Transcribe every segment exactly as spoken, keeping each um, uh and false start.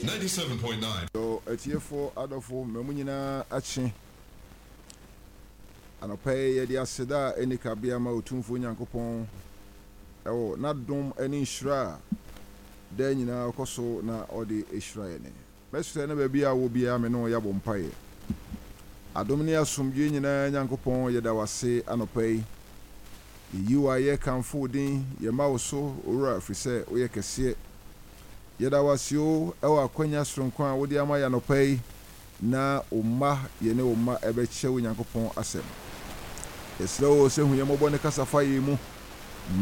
Ninety-seven point nine. Yo, atiefo adɔfo, ma mo nyinaa akye. Anɔpa yi yɛde aseda a ɛnni kabea ma Otumfoɔ Nyankopɔn ɛwɔ n'adom ne nhyira a daa nyinaa ɔkɔ so na ɔde hyira yɛn. Mɛsrɛ na baabi a wɔ biara me ne wo yɛabɔ mpaeɛ. Adom ne asomdwoe nyinaa Nyankopɔn, yɛda wo ase anɔpa yi. Yɛyi wo ayɛ, kamfo wo din, yɛma wo so, Owura, ɛfiri sɛ woyɛ kɛseɛ. Yɛda wo ase o ɛwɔ akwanya soronko a wode ama yɛ anɔpa yi na wo mma, yɛne wo mma ɛbɛkyɛ wo Nyankopɔn asɛm. Yɛsrɛ wo sɛ hu yɛn mmɔbɔ ne kasa fa yɛn mu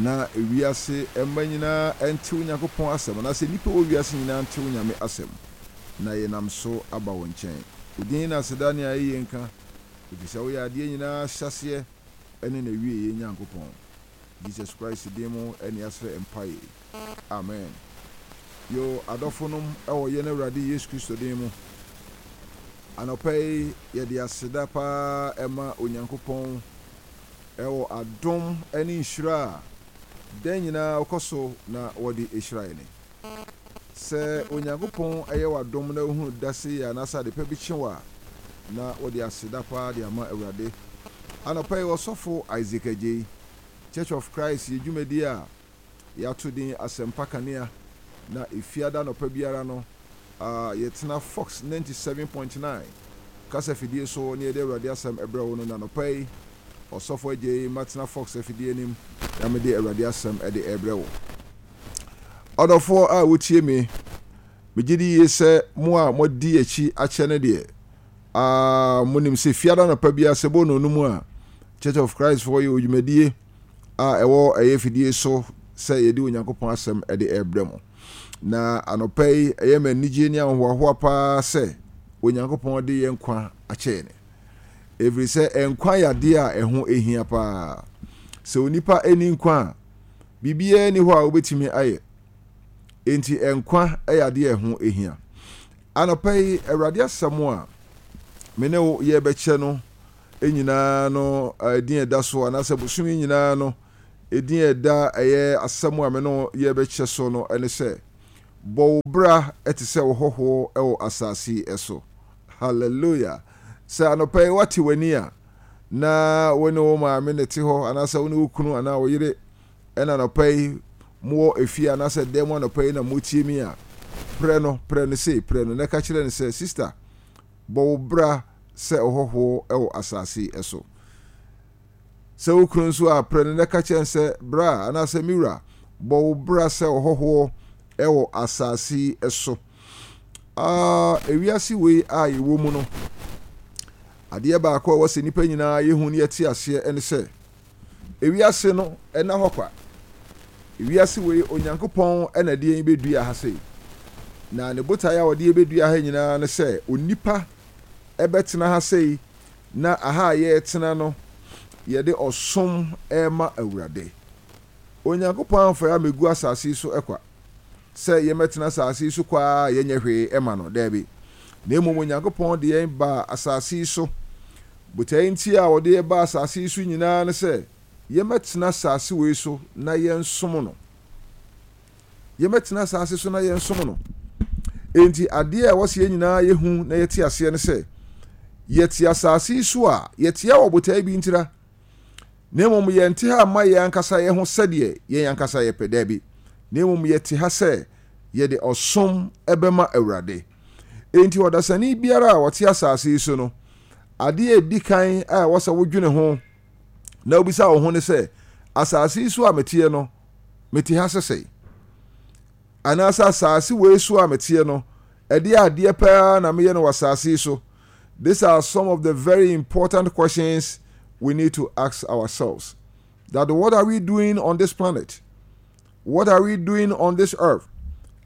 na ewiase mma nyinaa ɛnte wo Nyankopɔn asɛm anaasɛ nnipa wɔ wiase nyinaa nte wo Nyame asɛm na yɛnam so aba wo nkyɛn. Wo din na aseda ne ayɛyie nka, ɛfiri sɛ woyɛ adeɛ nyinaa hyɛaseɛ ɛne n'awieeɛ Nyankopɔn. Jesus Christ din mu ɛne yɛasrɛ mpaeɛ. Amen. Yo, adɔfonom ɛwɔ yɛn Awurade Yesu Kristo din mu. Anɔpa yi yɛde aseda paa ɛma Onyankopɔn ɛwɔ adom ne nhyira a dan nyinaa ɔkɔ so na wɔde hyira yɛn. Sɛ Onyankopɔn ɛyɛ w'adom na wohunu dase yɛ anaasɛ ade pa bi kye wo a, na wɔde aseda paa de ama Awurade. Anɔpa yi ɔsɔfo Isaac Agyei, Church of Christ yɛ dwumadi a yɛato din Asɛmpa Kanea na efiada anɔpa biara no uh, yɛtena Fox ninety-seven point nine kasa fidie so ne yɛde Awurade asɛm ɛbrɛ wo no. Na anɔpa yi ɔsɔfo Agyei matena Fox afidie anim na mede Awurade asɛm ɛde ɛbrɛ wo. Ɔdɔfoɔ a wotie me, megye di yie sɛ mo a moadi akyi akyɛ no deɛ, uh, monim sɛ fiada anɔpa biara sɛ bɔ no mu a Church of Christ foɔ yɛ odwumadie a ɛwɔ ɛyɛ fidie so sɛ yɛde Onyankopɔn asɛm ɛde ɛbrɛ mo. Na anɔpa yi ɛyɛ ma anigye ne ahohoahoa paa sɛ Onyankopɔn de yɛn nkwa akyɛ yɛn, ɛfiri sɛ nkwa yɛ adeɛ a ɛho ehia paa. Sɛ onipa ani nkwa a, biribiara ni hɔ a wobɛtumi ayɛ. Enti nkwa yɛ adeɛ a ɛho ehia. Anɔpa yi Awurade asɛm a me ne wo yɛbɛkyɛ no nyinaa no, ɛdin ɛda so anaasɛ bosome nyinaa no ɛdin ɛda ɛyɛ asɛm a me ne wo yɛbɛkyɛ so no ɛne sɛ, bɔ wo bra ɛte sɛ wo hɔhoɔ ɛwɔ asase yi so. Hallelujah! Sɛ anɔpa yi wate w'ani a na wo ne wo maame ne te hɔ anaasɛ wo ne wo kunu anaa wo yere ɛna anɔpa yi mowɔ efie anaasɛ dan mu anɔpa yi na motie mi a, prɛ no, prɛ no sei, prɛ no na ɛka kyerɛ no sɛ, "Sister, bɔ wo bra sɛ ɔhɔhoɔ ɛwɔ asase yi so." Sɛ wo kunu nso a, prɛ no na ɛka kyerɛ no sɛ, "Bra anaasɛ me wura, bɔ wo bra sɛ ɔhɔhoɔ ɛwɔ asase yi so." uh, ewiase wei a yɛwɔ mu no, adeɛ baako a ɛwɔ sɛ nnipa nyinaa yɛhu ne yɛte aseɛ ɛne sɛ ewiase no ɛna hɔ kwa. Ewiase wei, Onyankopɔn ɛna de yɛn bɛdua ha sei, na ne botaeɛ a ɔde yɛn bɛdua ha nyinaa ne sɛ onipa ɛbɛtena ha sei na aha a yɛretena no yɛde ɔsom ɛrema Awurade. Onyankopɔn amfa yɛ amɛgu asase yi so ɛkwa sɛ yɛmɛtena asase yi so kwaa yɛnyɛ hwee ɛma no. Daabi, na mmom Onyankopɔn de yɛn ba asase yi so. Botaeɛ nti a ɔde yɛn ba asase yi so nyinaa ne sɛ yɛmɛtena asase wei so na yɛnsom no. Yɛmɛtena asase so na yɛnsom no. Enti adeɛ a ɛwɔ sɛ yɛn nyinaa yɛhu na yɛte aseɛ ne sɛ yɛte asase yi so a, yɛte wɔ botaeɛ bi ntira, na mmom yɛnte ha mma yɛn ankasa yɛn ho sɛdeɛ yɛn ankasa yɛpɛ. Daabi, na mmom yɛte ha sɛ yɛde ɔsom ɛbɛma Awurade. Enti ɔdasani biara a ɔte asase yi so no, adeɛ a ɛdi kan a ɛwɔ sɛ wodwene ho na wobisa wo ho ne sɛ, asase yi so a meteɛ no, mete ha sɛsɛe anaasɛ asase wei so a meteɛ no, ɛdeɛ adeɛ paa na meyɛ no wɔ asase yi so? These are some of the very important questions we need to ask ourselves, that what are we doing on this planet? What are we doing on this earth?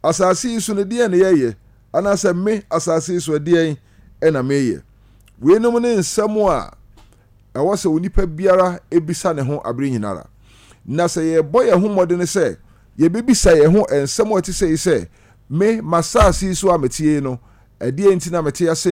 Asase yi so no, deɛ na yɛyɛ anaasɛ me asase yi so, ɛdeɛn ɛna meyɛ? Weinom ne nsɛm a ɛwɔ sɛ onipa biara ebisa ne ho abere nyinara. Na sɛ yɛbɔ yɛn ho mmɔden sɛ yɛbɛbisa yɛn ho nsɛm a ɛte sɛ yi sɛ, me m'asase yi so a metie no, ɛdeɛn nti na mete ase?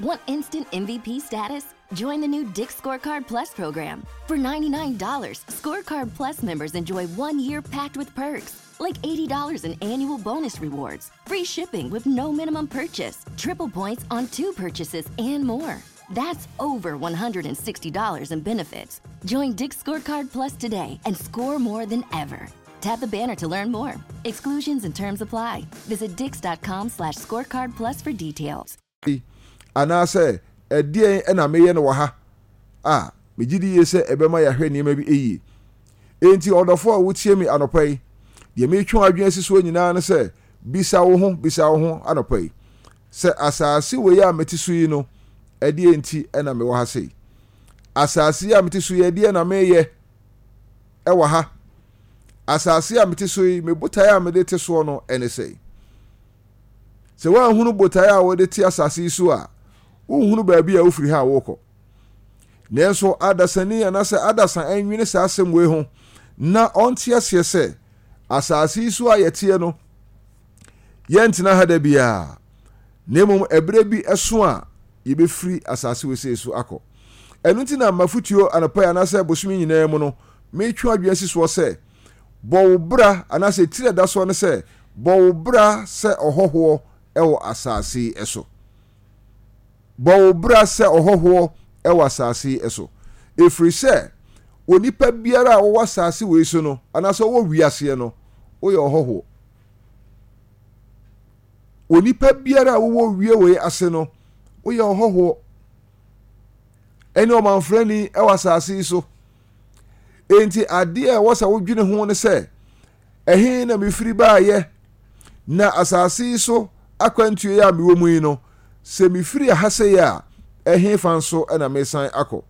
Want instant M V P status? Join the new Dick's Scorecard Plus program. For ninety-nine dollars Scorecard Plus members enjoy one year packed with perks. like eighty dollars in annual bonus rewards, free shipping with no minimum purchase, triple points on two purchases, and more. That's over one hundred sixty dollars in benefits. Join Dick's Scorecard Plus today and score more than ever. Tap the banner to learn more. Exclusions and terms apply. Visit dicks dot com slash scorecard plus for details. Anaasɛ ɛdeɛn ɛna meyɛ no wɔ ha a megye di yie sɛ ɛbɛma yɛahwɛ nneɛma bi yie? Enti ɔdɔfo a wotie me anɔpa yi, deɛ metwe adwene asi soɔ nyinaa no sɛ bisa wo ho, bisa wo ho anɔpa yi sɛ, asase wei a mete so yi no, ɛdeɛ nti ɛna mewɔ ha sei? Asase yi a mete so yi, ɛdeɛ na meyɛ ɛwɔ ha? Asase a mete so yi, me botaeɛ a mede te soɔ no ɛne sɛ, sɛ woanhunu botaeɛ a wɔde te asase yi so a, wonhunu baabi a wofiri ha a wokɔ. Nanso adasani anaasɛ adasa ɛnwene saa asɛm wei ho na ɔnte aseɛ sɛ asase yi so a yɛteɛ no, yɛntena ha da biara, na mmom ɛberɛ bi ɛso a yɛbɛfiri asase wei sei so akɔ. Ɛno nti na mafotuo anɔpa yi anaasɛ bosome nyinaa mu no, metwe adwene si soɔ sɛ bɔ wo bra, anaasɛ tiri ɛda soɔ no sɛ bɔ wo bra sɛ ɔhɔhoɔ ɛwɔ asase yi so. Bɔ wo bra sɛ ɔhɔhoɔ ɛwɔ asase yi so, ɛfiri sɛ onipa biara a wɔwɔ asase wei so no anaasɛ wɔwɔ wiaseɛ no, woyɛ ɔhɔhoɔ. Onipa biara a wɔwɔ wie wei ase no, woyɛ ɔhɔhoɔ ɛne ɔmanfrani ɛwɔ asase yi so. Enti adeɛ a ɛwɔ sɛ wodwene ho ne sɛ, ɛhe na mefiri baayɛ? Na asase yi so akwantuo yi a mewɔ mu yi no, sɛ mefiri ha sɛ a, ɛhe fa nso ɛna mesan akɔ?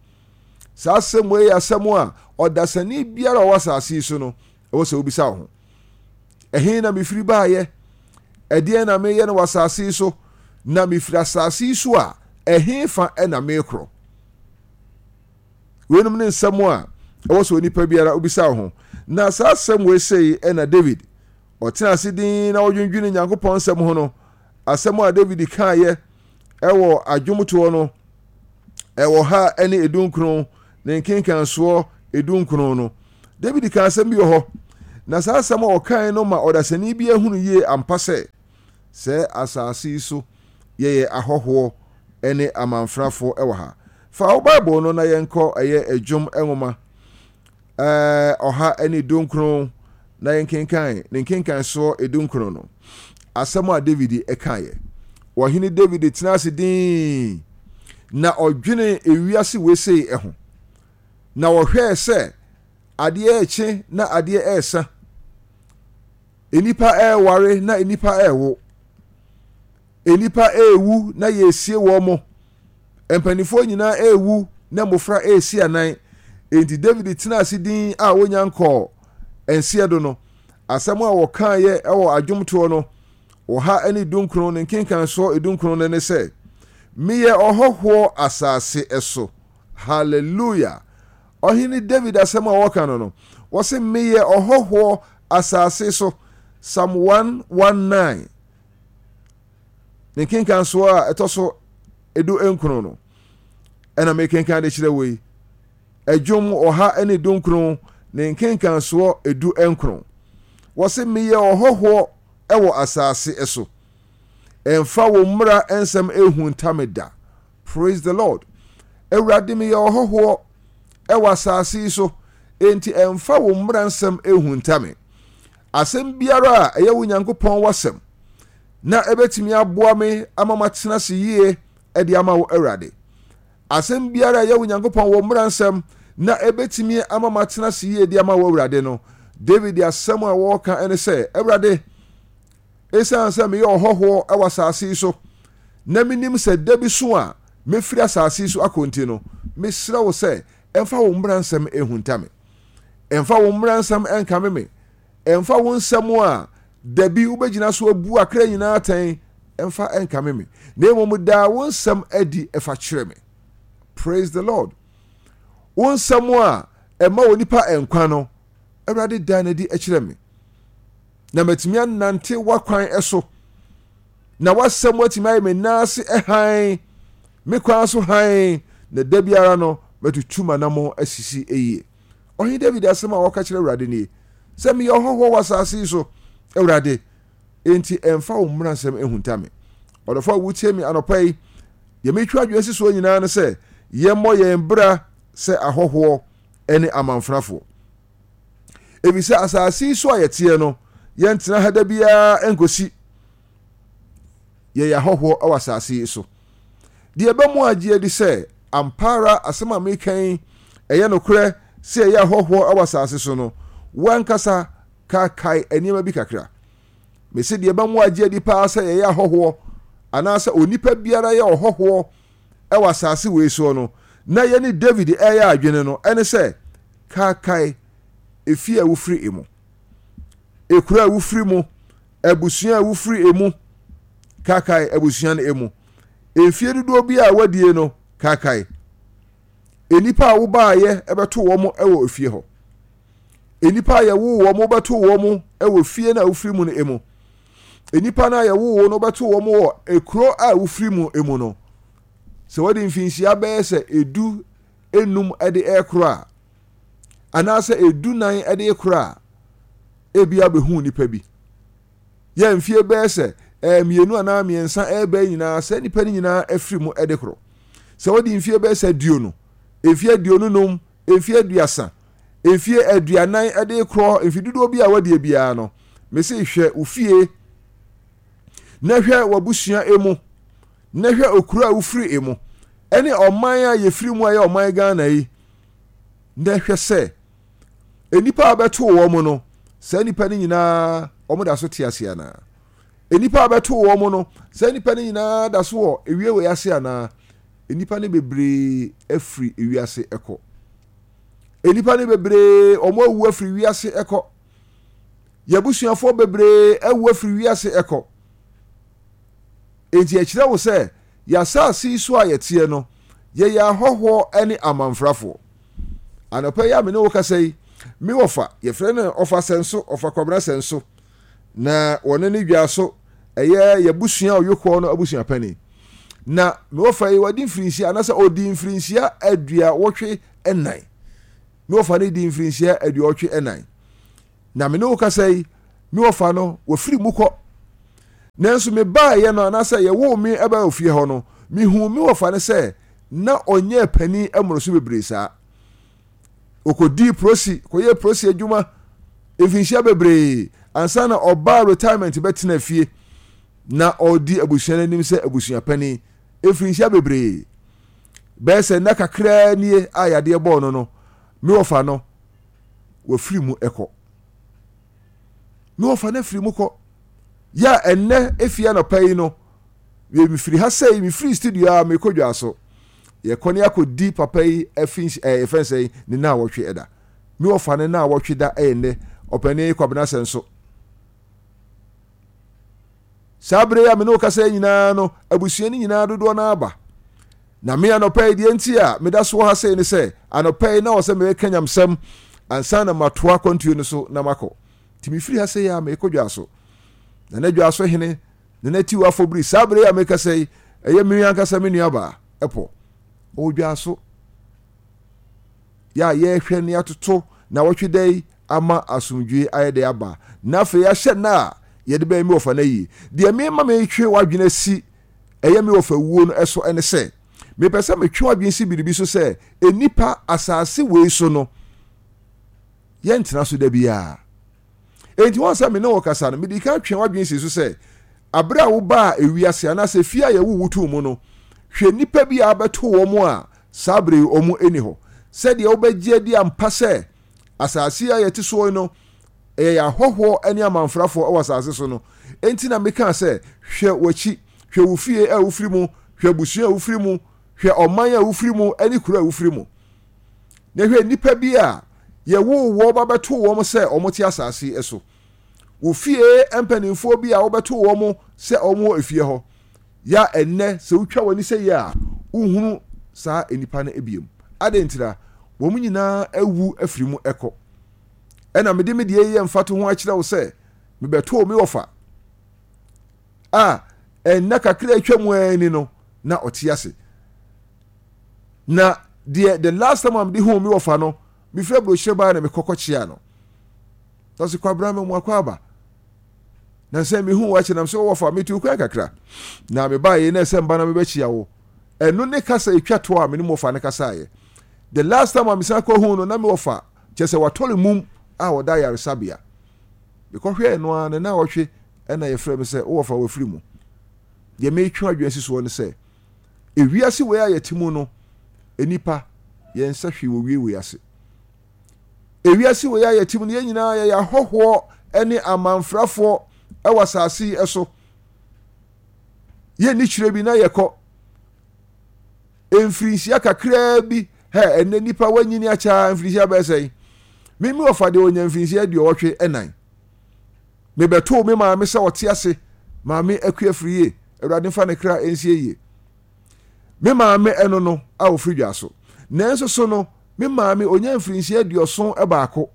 Saa asɛm wei yɛ asɛm a ɔdasani biara a ɔwɔ asase yi so no, ɛwɔ sɛ wobisa wo ho: ɛhe na mefiri baayɛ? Ɛdeɛn na meyɛ no wɔ asase yi so? Na mefiri asase yi so a, ɛhe fa ɛna mekorɔ? Weinom ne nsɛm a ɛwɔ sɛ onipa biara wobisa wo ho. Na saa asɛm wei sei ɛna David ɔtena ase din na ɔdwendwene Nyankopɔn nsɛm ho no. Asɛm a David kaeɛ ɛwɔ adwomtoɔ no ɛwɔ ha ɛne edunkron ne nkenkansoɔ edunkron no, David ka asɛm bi wɔ hɔ, na saa asɛm a ɔkae no ma ɔdasani bi ahunu yie ampa sɛ sɛ asase yi so yɛyɛ ahɔhoɔ ne amanfrafoɔ ɛwɔ ha. Fa wo Bible no na yɛnkɔ ɛyɛ Adwom nwoma ɛɛ ɔha ne dunkron na yɛnkenkan ne nkenkan soɔ edunkron no. Asɛm a David ɛkaeɛ: Ɔhene David tena ase dinn na ɔdwene ewiase wesei ɛho, na ɔhwɛɛ sɛ adeɛ ɛkye na adeɛ ɛresa, nnipa ɛreware na nnipa ɛrewo, nnipa ɛrewu na yɛresie wɔn mo, mpanimfoɔ nyinaa ɛrewu na mmɔfra ɛresi anan. Enti David tena ase din a wonya nkɔɔ nseɛ do no, asɛm a wɔkaeɛ ɛwɔ adwomtoɔ no ɔha ne dunkron ne nkenkansoɔ edunkron no ne sɛ, "Meyɛ ɔhɔhoɔ asase so." Hallelujah! Ɔhene David asɛm a wɔka no no wɔse, "Meyɛ ɔhɔhoɔ asase so." Psalm one nineteen ne nkenkansoɔ a ɛtɔ so edu nkron no ɛna mekenkan de kyerɛ wɔ yi. Ɛdwom ɔha ne dunkron ne nkenkansoɔ edu nkron, wɔse, "Meyɛ ɔhɔhoɔ ɛwɔ asase so, ɛmfa wo mmara nsɛm ehunta me da." Praise the Lord! Awurade, meyɛ ɔhɔhoɔ ɛwɔ asase yi so, enti ɛmfa wo mmara nsɛm ehunta me. Asɛm biara a ɛyɛ wo Nyankopɔn wasɛm na ɛbɛtumi aboa me ama matena ase yie ɛde ama wo, Awurade, asɛm biara a ɛyɛ wo Nyankopɔn wɔ mmara nsɛm na ɛbɛtumi ama matena ase yie de ama wo, Awurade no, David asɛm a wɔreka ɛne sɛ, Awurade, ɛsiane sɛ meyɛ ɔhɔhoɔ ɛwɔ asase yi so na menim sɛ da bi so a mɛfiri asase yi so akɔ nti no, mesrɛ wo sɛ ɛmfa wo mmara nsɛm ɛhunta me, ɛmfa wo mmara nsɛm ɛnkame me, ɛmfa wo nsɛm a dabi wobɛgyina so abu akra nyinaa atɛn ɛmfa ɛnkame me, na mmom daa wo nsɛm adi ɛfa kyerɛ me. Praise the Lord! Wo nsɛm a ɛma wɔ nipa nkwa no, Awurade, daa n'adi kyerɛ me na matumi anante w'akwan so, na w'asɛm atumi ayɛ me nan ase hann, me kwan so hann, na da biara no matutu m'anammɔn asisi yie. Ɔhene David asɛm a wɔka kyerɛ Awurade nie sɛ, meyɛ ɔhɔhoɔ wɔ asase yi so. Awurade, enti ɛmfa wo mmaransɛm nhunta me. Ɔdɔfo a wotie me anɔpa yi, deɛ metwa adwene si soɔ nyinaa ne sɛ yɛmmɔ yɛn bra sɛ ahɔhoɔ ne amanfrafoɔ. Efisɛ asase yi so a yɛteɛ no, yɛntena ha da biara nkosi yɛyɛ ahɔhoɔ wɔ asase yi so. Deɛ ɛbɛmo agye adi sɛ ampa ara asɛm a meka yi ɛyɛ nokorɛ sɛ yɛyɛ ahɔhoɔ wɔ asase so no, wankasa kaakae nneɛma bi kakra. Mese deɛ ɛbɛmo agye adi paa sɛ yɛyɛ ahɔhoɔ anaasɛ onipa biara yɛ ɔhɔhoɔ wɔ asase wei soɔ no, na yɛne David ɛyɛ adwene no, ɛne sɛ kaakae efie a wofiri emu, ekuro a wofiri mu, abusua a wofiri emu, kaakae abusua no emu, mfie dodoɔ bi a wadie no, kaakae nnipa a wobaayɛ ɛbɛto wɔn wɔ efie hɔ, nnipa a yɛwoo wɔn bɛto wɔn wɔ fie no a wofiri mu no emu, nnipa no a yɛwoo wɔn no bɛto wɔn wɔ ekuro a wofiri mu emu no. Sɛ wɔde mfinhyia bɛyɛ sɛ edu enum de ɛrekoro a, anaasɛ edu nan de rekoro a, ebi abɛhu nipa bi. Yɛ mfie bɛyɛ sɛ ɛɛ mmienu anaa mmiɛnsa ɛreba nyinaa, saa nipa no nyinaa afiri mu de korɔ. Sɛ wɔde mfie bɛyɛ sɛ aduonu, mfie aduonu num, mfie aduasa, mfie aduanan de korɔ, mfe dodoɔ bi a wɔdeɛ biara no, mese hwɛ wo fie na hwɛ w'abusua emu na hwɛ okuro a wofiri emu ɛne ɔman a yɛfiri mu a ɛyɛ ɔman Ghana yi, na hwɛ sɛ nnipa a bɛto wɔn no, saa nnipa no nyinaa wɔn da so te ase anaa? Nnipa a bɛto wɔn no, saa nnipa no nyinaa da so wɔ ewie wɔ ase anaa? Nnipa no bebree afiri ewiase ɛkɔ. Nnipa no bebree wɔn awu afiri wiase ɛkɔ. Yɛabusuafoɔ bebree awu afiri wiase ɛkɔ. Enti ɛkyerɛ wo sɛ yɛasase yi so a yɛteɛ no, yɛyɛ ahɔhoɔ ne amanfrafoɔ. Anɔpa yi a me ne wo kasa yi, me wɔfa, yɛfrɛ no ɔfa Sɛnso, ɔfa Kwabena Sɛnso, na wɔne ne dwa so ɛyɛ yɛabusua ɔyokoɔ no abusua panin. Na me wɔfa yi wadi mfirinhyia anaasɛ ɔdi mfirinhyia aduawɔtwe nnan. Me wɔfa no di mfirinhyia aduawɔtwe nnan. Na me ne wo kasa yi, me wɔfa no wafiri mu kɔ. Nanso mebaeɛ no anaasɛ yɛwoo me ɛbaa ofie hɔ no, mehuu me wɔfa no sɛ na ɔnyɛɛ panin mmoro so bebree saa. Ɔkɔdii prosi, kɔyɛɛ prosi adwuma mfinhyia bebree ansa na ɔbaa retirement bɛtena fie na ɔredi abusua no anim sɛ abusua panin mfinhyia bebree. Bɛyɛ sɛ nna kakraa nie a yadeɛ bɔɔ no no, me wɔfa no wafiri mu kɔ. Me wɔfa no afiri mu kɔ. Yɛ a ɛnnɛ efie anɔpa yi no, mefiri ha sɛ mefiri studio a mekɔ dwa so. Yɛkɔ ne akɔdi papa yi afi ɛɛ yɛfɛn sɛ ne na awɔtwe ɛda. Me wɔfa ne na awɔtwe da ɛyɛ nnɛ. Ɔpanin Kwabena Sɛnso. Saa bere yi a me ne wo kasa yi nyinaa no, abusua no nyinaa dodoɔ no aba. Na me anɔpa yi deɛ nti a meda so wɔ ha sei ne sɛ, anɔpa yi na wɔ sɛ meka nyamsɛm ansa na matoa akwantuo no so na makɔ. Nti mefiri ha sei a mekɔ dwa so. Na na dwa so hene na na tiw afɔbiri saa bere yi a mekasa yi, ɛyɛ me ankasa me nuabaa ɛpɔ. Ɔwɔ dwa so. Yɛ a yɛrehwɛ ne atoto na wɔtwe da yi ama asomdwoe ayɛ dɛ aba, na afei ahyɛ nna a yɛde bɛyɛ me wɔfa no ayie. Deɛ mema metwe w'adwene asi ɛyɛ me wɔfa wuo no so ne sɛ, mepɛ sɛ metwe w'adwene si biribi so sɛ, nnipa asase wei so no, yɛntena so da biara. Enti wɔn sɛ me ne wo kasa no, mede kan twe w'adwene si so sɛ, abere a wobaa ewiase anaasɛ fie a yɛwo wo too mu no, hwɛ nnipa bi a abɛto wɔn a saa bere yi wɔn nni hɔ. Sɛdeɛ wobɛgye adi ampa sɛ asase yi a yɛte soɔ yi no, ɛyɛ yɛn ahɔhoɔ ne amanfrafoɔ wɔ asase so no. Enti na mekaa sɛ, hwɛ w'akyi, hwɛ wo fie a wofiri mu, hwɛ abusua a wofiri mu, hwɛ ɔman a wofiri mu ne kuro a wofiri mu. Na hwɛ nnipa bi a yɛwoo wɔn ba bɛtoo wɔn sɛ wɔte asase yi so. Wo fie mpanimfoɔ bi a wobɛtoo wɔn sɛ wɔn wɔ efie hɔ. Ya ɛnnɛ sɛ wotwa w'ani sɛ yɛ a, wohunu saa nnipa no biom. Adɛn ntira? Wɔn nyinaa awu afiri mu kɔ. Ɛna mede me deɛ yɛ mfatoho akyerɛ wo sɛ mebɛtoo me wɔfa a ɛnna kakra atwa mu ara ni no na ɔte ase. Na deɛ the last time a mede huu me wɔfa no, mefiri aburokyire baa na mekɔkɔ kyea no. Na ɔse, Kwabena me mu akɔ aba. Na sɛ mehu wo akyɛ nam sɛ wɔfa metu kwan kakra na mebaeɛ na ɛsɛ mba na mebɛkyia wo. Ɛno ne kasa ɛtwa toɔ a me ne mo wɔfa no kasaeɛ. The last time a mesan kɔhu no na me wɔfa kyɛ sɛ watɔre mum a ɔda ayaresabea. Mekɔhwɛɛ no ara ne na ɔtwe ɛna yɛfrɛ me sɛ wowɔfa wafiri mu. Deɛ metwe adwene si soɔ ne sɛ ewiase wei a yɛte mu no, nnipa yɛn nsa hwee wɔ wie wei ase. Ewiase wei a yɛte mu no, yɛn nyinaa yɛyɛ ahɔhoɔ ne amanfrafoɔ wɔ asase yi so. Yɛnni kyerɛ bi na yɛkɔ. Mfirinhyia kakraa bi, hɛ, ɛnɛ nipa wanyini akyɛ mfirinhyia bɛyɛ sɛn? Mimi wɔfa deɛ ɔnya mfirinhyia aduɔwɔtwe ɛnan. Mebɛtoo me maame sɛ ɔte ase, Maame Akua Firie, Awurade mfa ne kra nsie yie. Me maame ɛno no a ɔfiri dwa so. Nanso so no, me maame ɔnya mfirinhyia aduɔson baako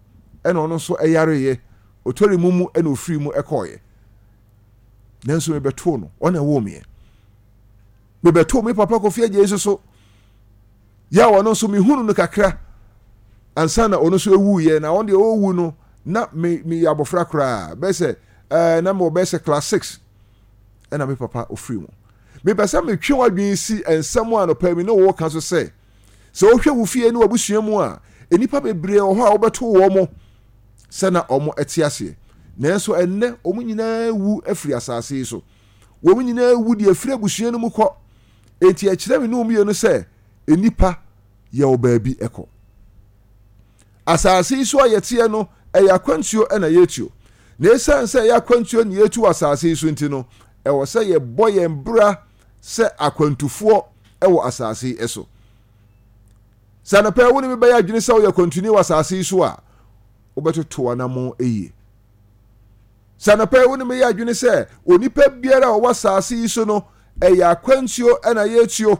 ɛna ɔno nso ɛyareeɛ, ɔtɔre mu mu ɛna ɔfiri mu ɛkɔɔeɛ. Nanso mebɛtoo no, ɔna ɛwoo meɛ. Mebɛtoo me papa Kofi Adjei nso so, yɛ a ɔno nso mehunu no kakra ansa na ɔno nso ɛwuiɛ. Na ɔno deɛ ɔwu no na me meyɛ abɔfra koraa, bɛyɛ sɛ ɛɛ na mewɔ bɛyɛ sɛ class six ɛna me papa ɔfiri mu. Mepɛ sɛ metwe w'adwene si nsɛm a anɔpa mi ne wo ka so sɛ, sɛ wohwɛ wo fie ne w'abusua mu a, nnipa bebree wɔ hɔ a wobɛto wɔn mo sɛ na wɔn te aseɛ, nanso ɛnnɛ wɔn nyinaa wu afiri asase yi so. Wɔn nyinaa wu de afiri abusua no mu kɔ. Enti ɛkyerɛ me ne wo mmienu sɛ nnipa yɛ wɔ baabi ɛkɔ. Asase yi so a yɛteɛ no, ɛyɛ akwantuo na yɛtuo. Na ɛsiane sɛ ɛyɛ akwantuo na yɛtu wɔ asase yi so nti no, ɛwɔ sɛ yɛbɔ yɛn bra sɛ akwantufoɔ wɔ asase yi so. Sɛ anɔpa wo ne me bɛyɛ adwene sɛ woyɛ akwantuni wɔ asase yi so a, wobɛtoto w'anammɔn yie. Sɛ anɔpa wo ne me yɛ adwene sɛ onipa biara a ɔwɔ asase yi so no, ɛyɛ akwantuo na yɛtuo.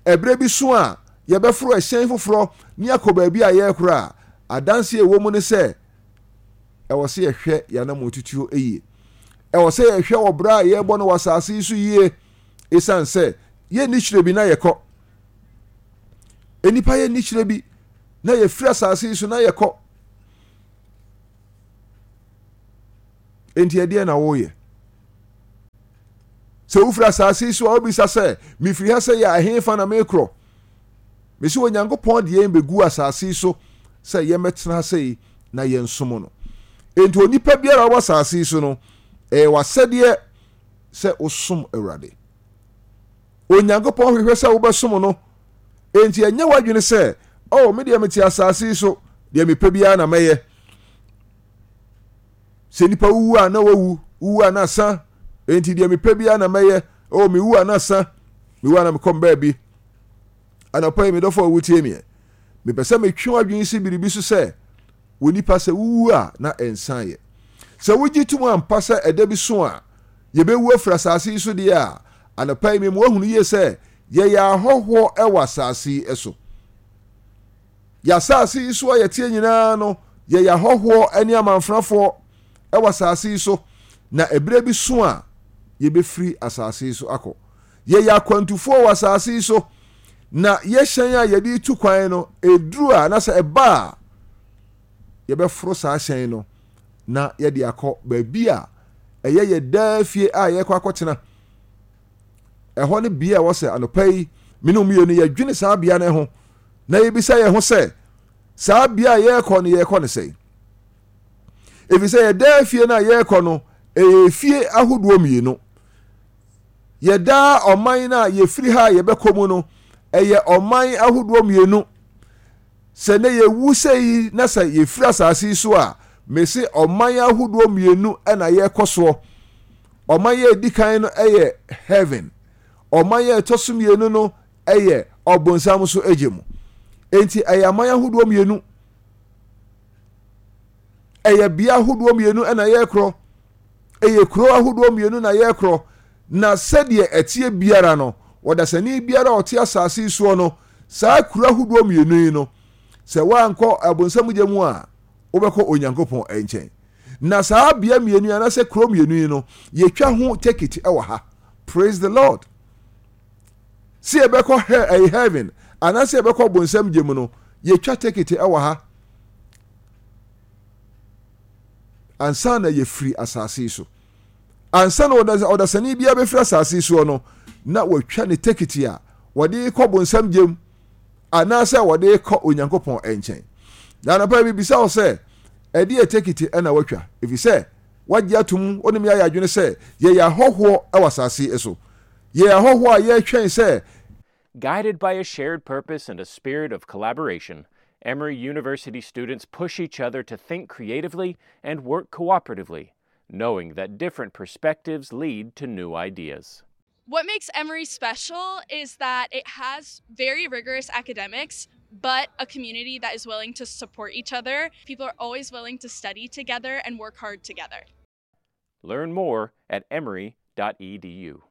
Ɛberɛ bi so a yɛbɛforo ɛhyɛn foforɔ ne akɔ baabi a yɛrekora a, adanseɛ ɛwɔ mu ne sɛ ɛwɔ sɛ yɛhwɛ yɛn anammɔn tutuo yie. Ɛwɔ sɛ yɛhwɛ wɔ berɛ a yɛrebɔ no wɔ asase yi so yie, ɛsiane sɛ yɛnni kyerɛ bi na yɛkɔ. Nnipa yɛnni kyerɛ bi na yɛfiri asase yi so na yɛkɔ. Enti ɛdeɛ na woyɛ? Sɛ wofiri asase yi so a, wobisa sɛ, mefiri ha sɛ yɛ ɛhefa na mekorɔ? Mesi Onyankopɔn de yɛn bɛgu asase yi so sɛ yɛmmɛtena ha sɛ na yɛnsom no. Enti onipa biara a ɔwɔ asase yi so no, ɛyɛ w'asɛdeɛ sɛ wosom Awurade. Onyankopɔn hwehwɛ sɛ wobɛsom no. Enti ɛnyɛ w'adwene sɛ, oh, me deɛ mete asase yi so, deɛ mepɛ biara na mɛyɛ. Sɛ nipa wuwu a na wawu, wuwu a na asa. Enti deɛ mepɛ biara na mɛyɛ. Oh, mewu a na asa, mewu a na mekɔ baabi. Anɔpa yi, me dɔfo a wotie meɛ, mepɛ sɛ metwe w'adwene si biribi so sɛ, wɔ nipa sɛ wuwu a na ɛnsan yɛ. Sɛ wogye tom ampa sɛ ɛda bi so a yɛbɛwu afiri asase yi so deɛ a, anɔpa yi mema woahunu yie sɛ yɛyɛ ahɔhoɔ wɔ asase yi so. Yɛ asase yi so a yɛteɛ nyinaa no, yɛyɛ ahɔhoɔ ne amanfrafoɔ wɔ asase yi so, na ɛberɛ bi so a yɛbɛfiri asase yi so akɔ. Yɛyɛ akwantufoɔ wɔ asase yi so, na yɛhyɛn a yɛde tu kwan no, ɛduru a na sɛ ɛba a, yɛbɛforo saa hyɛn no na yɛde akɔ baabi a ɛyɛ yɛ daa fie a yɛkɔ akɔtena. Ɛhɔ ne bea a ɛwɔ sɛ anɔpa yi me ne mmienu yɛdwene saa bea no ho na yɛbisa yɛn ho sɛ, saa bea a yɛrekɔ no, yɛrekɔ no sɛn? Ɛfiri sɛ yɛ daa fie no a yɛrekɔ no, ɛyɛ fie ahodoɔ mmienu. Yɛdaa ɔman no a yɛfiri ha a yɛbɛkɔ mu no, ɛyɛ ɔman ahodoɔ mmienu. Sɛ ne yɛwu sɛ yi na sɛ yɛfiri asase yi so a, mese ɔman ahodoɔ mmienu na yɛrekɔ soɔ. Ɔman yɛ edi kan no yɛ heaven. Ɔman yɛ ɛtɔ so mmienu no yɛ ɔbonsam so agye mu. Enti ɛyɛ aman ahodoɔ mmienu. Ɛyɛ bea ahodoɔ mmienu na yɛrekorɔ. Ɛyɛ kuro ahodoɔ mmienu na yɛrekorɔ. Na sɛdeɛ ɛteɛ biara no, ɔdasani biara a ɔte asase yi soɔ no, saa kuro ahodoɔ mmienu yi no, sɛ woankɔ ɔbonsam gya mu a, wobɛkɔ Onyankopɔn nkyɛn. Na saa bea mmienu yi anaasɛ kuro mmienu yi no, yɛtwa ho tekiti wɔ ha. Praise the Lord. Sɛ yɛbɛkɔ he heaven anaasɛ yɛbɛkɔ bonsam gya mu no, yɛtwa tekiti wɔ ha ansa na yɛfiri asase yi so. Ansa na ɔdasani biara bɛfiri asase soɔ no, na watwa ne tekiti a wɔde kɔ bonsam gyem anaasɛ wɔde kɔ Onyankopɔn nkyɛn. Na anɔpa yi mebisa wo sɛ, ɛdeɛ tekiti na watwa? Ɛfiri sɛ wagye atom, wo ne me ayɛ adwene sɛ yɛyɛ ahɔhoɔ wɔ asase so. Yɛyɛ ahɔhoɔ a yɛretwɛn sɛ Guided by a shared purpose and a spirit of collaboration, Emory University students push each other to think creatively and work cooperatively, knowing that different perspectives lead to new ideas. What makes Emory special is that it has very rigorous academics, but a community that is willing to support each other. People are always willing to study together and work hard together. Learn more at emory dot e d u.